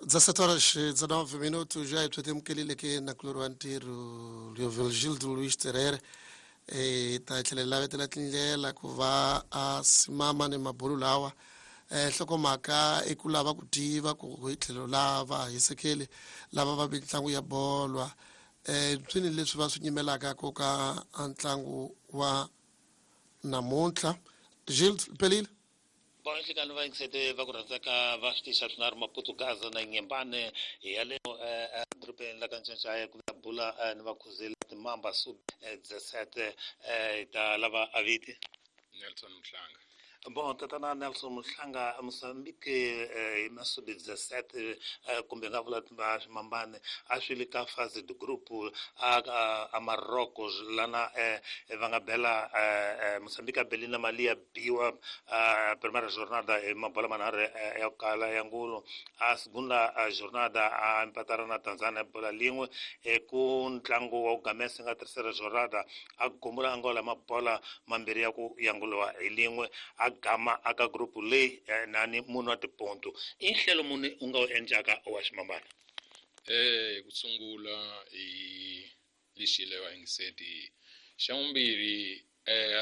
17 horas e 19 minutos, já temukelile ke nakulori wa ntirho Leovigildo Luis Terere ta tlhela lavetela tindlela ku va a simama ni mabulu lawa. Nhlokomhaka i ku lava ku tiva ku hi tlhelo lava hisekeli lava va mitlangu ya bolwa swini leswi va swi nyimelaka ku ka ntlangu wa namuntlha. Gilles pelile. Bon, nhlikani va yingisete va ku rhandzaka va switixa swinharhu Maputugaza na Nyembane hi ya le edorobeni la ka Ncancaya ku ya bula ni vakhuzeli timamba sub 17 hi ta lava aviti Nelson Mhlanga. Bon, tatana Nelson Mhlanga, Mozambique hi masubi 17 kumbe nga vula swimambane a swi le ka phase de groupe a Marocco lana va nga bela Mozambique a beli na mali ya biwa primera jornada hi mabola manharhu ya ku kala ya ngulu. A segunda jornada a mpatara na Tanzania bola lin'we. Ku ntlangu wa ku gamesa nga tercera jornada a gumula Angola mabola mambirhi ya ku yanguliwa hi lin'we, a gama aka group leyi nani munhu wa tiponto. I nhlelo muni u nga wu endlaka wa ximambana? Ku sungula hi lexi va yingiseti xa vumbirhi,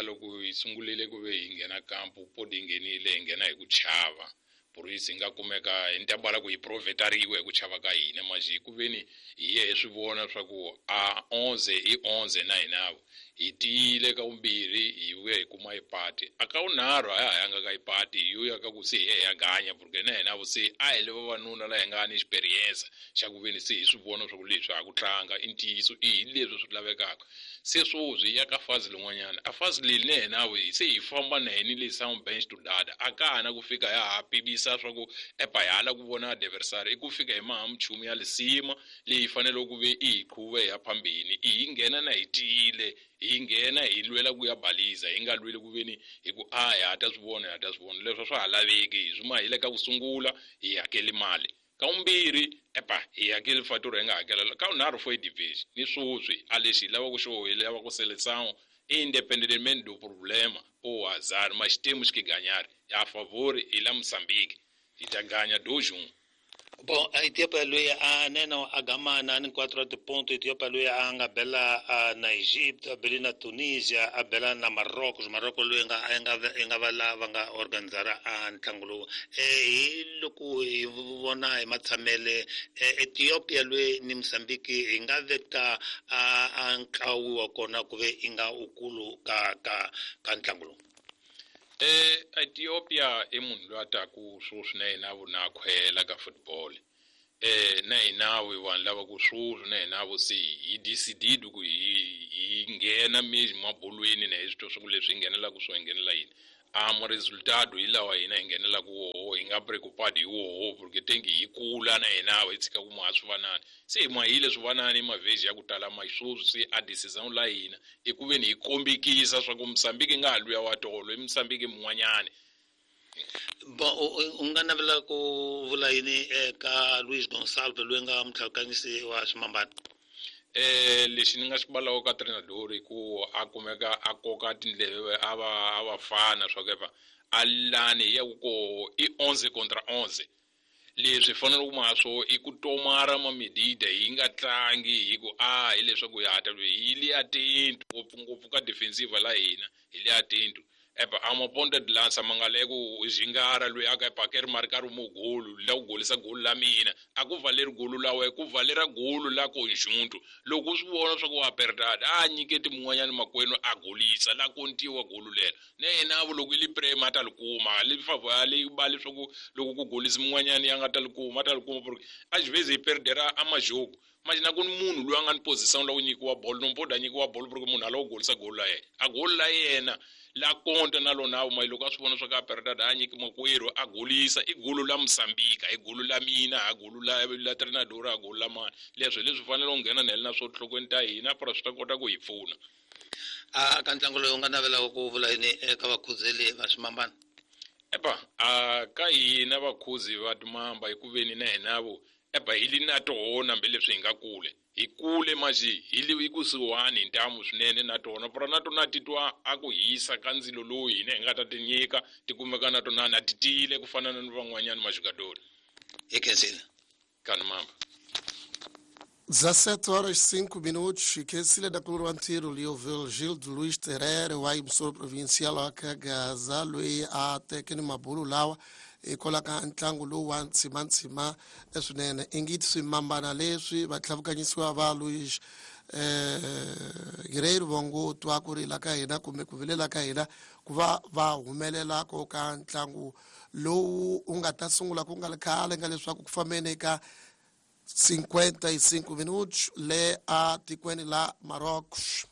loko hi sungulile ku ve hi nghena kampu podi hi nghenile hi nghena hi ku chava purisi hi nga kumeka hi ntambala ku hi provetariwe hi ku chava ka hina maji ku veni hi ye hi swi vona swa ku a 11 i 11 na hinavo hi tiyile ka vumbirhi hi vuya hi kuma ipati a ka vunharhu a ya ha yanga ka ipati hi yo ya ka ku se hi ya hi ya ganya porque na hina vo se a hi le vavanuna la hi nga ni experience xa ku veni se hi swi vona swa ku leswi ha ku tlanga i ntiyiso i hi leswi swi lavekaka. Se sweswi hi ya ka fazi lin'wanyana a fazi leyi na hina vo se hi famba na hini le sound bench to data a ka ha na ku fika ya ha pimisa swa ku epa hi hala ku vona adversary i ku fika hi maha minchumu ya lisima leyi faneleke ku ve i hi qhuve hi ya phambeni i hi nghena na hi tiyile hi nghena hi lwela ku ya baliza hi nga lweli ku veni hi ku a hi ha ta swi vona hi ha ta swi vona leswi swa ha laveki hi swi ma hi le ka ku sungula hi hakeli mali ka vumbirhi epa hi hakeli fatura hi nga hakela ka vunharhu fo division ni sweswi a lexi hi lavaka xo hi lava ku seleção independentemente do problema ou azar, mas temos que ganhar a favor hi la Mozambique hi ta ganya 2-1. Bon, a Ethiopia loyi a neno a gamana ni 4 tiponto. Ethiopia loyi a nga bela na Egypt, a bele na Tunisia, a bela na Marocco. Marocco loyi nga a nga nga va lava nga organizara a ntlangu lowu. Hi loko hi vona hi matshamele Ethiopia loyi ni Mozambique hi nga veka a ntlawu wa kona ku ve i nga ukulu ka ka ka ntlangu lowu. Ethiopia i munhu loyi a taku sweswi na yena vo na khwela ka football. Na hina vo vanhu lava ku sweswi na hina vo se hi decided ku hi nghena mabolweni na hi swi twa swa ku leswi hi nghenelaka swo hi nghenela yini. A mo resultado hi lawa hina hi nghenelaka woho hi nga preocupado hi woho porque tengi hi kula na hina hi tshika ku maha swivanani se hi mahile swivanani mavheji ya ku tala ma sweswi se a decision la hina i ku veni hi kombekisa swa ku Mozambique nga ha luya wa tolo i Mozambique mun'wanyani. Bon, u nga navela ku vula yini eka Luis Gonçalves loyi nga mutlhakanyisi wa swimambana? Lexi ni nga xi balaka ka treinador i ku a kumeka a koka tindleve a va a va fana swa ku epa a lani hi ya ku koho i 11 contra 11 leswi fanele ku ma swo i ku tomara ma medida hi nga tlangi hi ku a hileswaku hi hata hi le atento ngopfungopfu ka defensive la hina hi le atento epa a ma ponta de lança ma nga le ku zingara loyi a ka epa ke ri marcar mo golo la ku golisa golo la mina a ku valeri golo la we ku valera golo la conjunto loko u swi vona swa ku wa perdada a nyiketi mun'wanyana makwenu a golisa la kontiwa golo lelo na yena vo loko i li prema a ta li kuma li favor a li ba leswaku loko ku golisa mun'wanyana ya nga ta li kuma a ta li kuma porque às vezes hi perdera a majogo mas na ku ni munhu loyi a nga ni position la ku nyikiwa bolo no mpoda a nyikiwa bolo porque munhu a lava ku golisa golo la yena a golo la yena la konta na lona ma loko a swi vona swa ka perdada a nyiki makwerhu a golisa i golo la Mozambique i golo la mina a golo la la treinador a golo la mani leswi leswi fanele u nghena na na swo nhlokweni ta hina para swi ta kota ku hi pfuna. A ka ntlangu lowu u nga navelaka ku vula yini eka vakhuzeli va swimambana? Epa a ka hina vakhuzi va timamba hi ku veni na hina vo epa hi li na tona hambileswi hi nga kule hi kule maji hi li kusuhani hi ntamu swinene na tona para na tona titwa a ku hisa ka ndzilo lowu hina hi nga ta ti nyika ti kumeka na tona na ti tiyile ku fana na van'wanyana majugadori. Hi khensile. Kanumamba. 17 horas 5 minutos, khensile dakulu wa ntirho Leoville Gildo Luiz Terere wa yimsolo provincial wa Kagaza loyi a teke ni mabulu lawa hikwalaho ka ntlangu lowu wa ntshimantsima swinene ingiti swimambana leswi vatlhavukanyisiwa va Luiz Guerreiro va ngo twa ku rila ka hina kumbe ku vilela ka hina ku va va humelela ko ka ntlangu lowu u nga ta sungula ku nga ri khale nga leswaku ku fambeni ka 55 minutos le a tikweni la Marrocos.